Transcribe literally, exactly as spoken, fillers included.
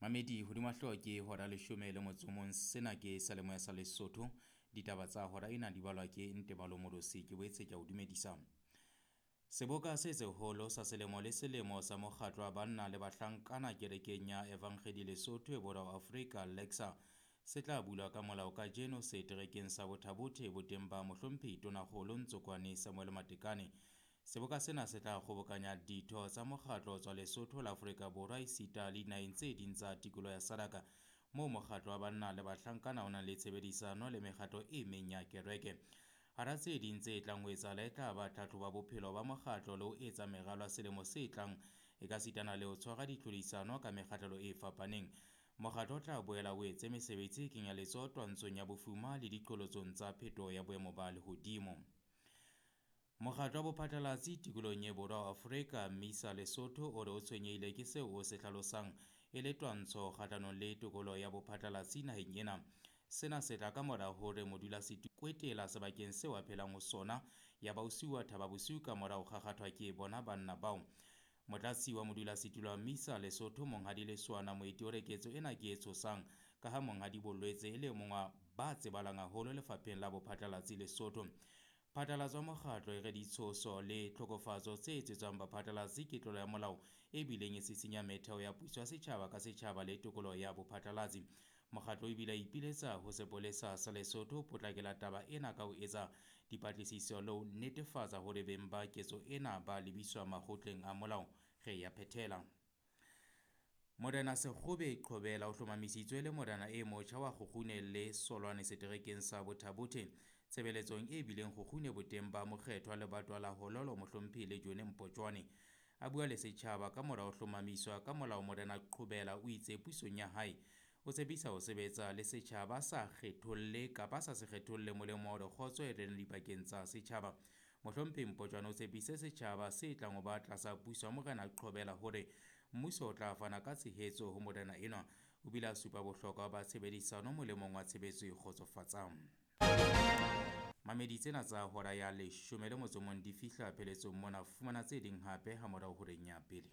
Mamedi hodima hlooho ke hora leshome le motso o mong. Sena ke seyalemoya sa Lesotho. Ditaba tsa hora ena di balwa ke Ntebalo Molosi. Ke boetse ke a o dumedisa. Seboka se seholo sa selemo le selemo sa mokgatlo wa banna le bahlankana kerekeng ya Evangedi Lesotho e Borwa Afrika Lexa se tla bulwa ka molao kajeno seterekeng sa Botha-Bothe boteng ba mohlomphehi Tonakgolo Ntsokoane Samuel Matekane. Seboka sena se tla kgobokanya ditho tsa mokgatlo ho tswa Lesotho la Afrika Borwa esita le dinaheng tse ding tsa tikoloho ya Sadaka moo mokgatlo wa banna le bahlankana o nang le tshebedisano le mekgatlo e meng ya kereke. Hara tse ding tse tlang ho etsahala e tla ba tlhahlobo ya bophelo ba mokgatlo le ho etsa meralo ya selemo se tlang e ka sitana le ho tshwara ditlhodisano ka mekgahlelo e fapaneng. Mokgatlo o tla boela o etse mesebetsi e kenya letsoho twantshong ya bofuma le diqholotsong tsa phetoho ya boemo ba lehodimo. Mokgatlo wa bophatlalatsi tikolohong e Borwa Afrika Misa Lesotho o re o tshwenyehile ke seo o se hlalosang e le twantsho kgahlanong le tokoloho ya bophatlalatsi naheng ena. Sena se tla ka mora hore modulasetulo kwetela sebakeng seo a phelang ho sona ya ba o siuwa thaba bosiu ka mora ho kgakgathwa ke bona banna bao. Motlatsi wa modulasetulo wa Misa Lesotho Monghadi Lesoana Moeti o re ketso ena ke e tshosang ka ha Monghadi Bolwetse e le mong wa ba tsebahalang haholo lefapheng la bophatlalatsi Lesotho. Phatlalatso ya mokgatlo e re ditshoso le tlhokofatso tse etsetswang baphatlalatsi ke tlolo ya molao e bileng e sisinya metheo ya puso ya setjhaba ka setjhaba le tokoloho ya bophatlalatsi. Mokgatlo o bile a ipiletsa ho sepolesa sa Lesotho ho potlakela taba ena ka ho etsa dipatlisiso le ho netefatsa hore beng ba ketso ena ba lebiswa makgotleng a molao. Re ya phethela. Morena Sekgobe Qhobela o hlomamisitswe le morena e motjha wa Kgukgune le Solwane seterekeng sa Botha-Bothe. Tshebeletsong e bileng Kgukgune boteng ba mokgethwa lebatwa la Hololo mohlomphehi le Jone Mpotjwane. A bua le setjhaba ka mora ho hlomamiswa ka molao Morena Qhobela o itse pusong ya hae o tshepisa ho sebetsa le setjhaba sa kgetholle kapa sa se kgetholle molemo wa hore kgotso e rene dipakeng tsa setjhaba. Mohlomphehi Mpotjwane o tshepise setjhaba se tlang ho ba tlasa puso ya Morena Qhobela hore mmuso o tla fana ka tshehetso ho morena enwa. O bile a supa bohlokwa ba tshebedisano molemong wa tshebetso e kgotsofatsang. Mamedi tsena tsa hora ya leshome le motso o mong di fihla pheletsong mona. Fumana tse ding hape ha morao horeng ya pele.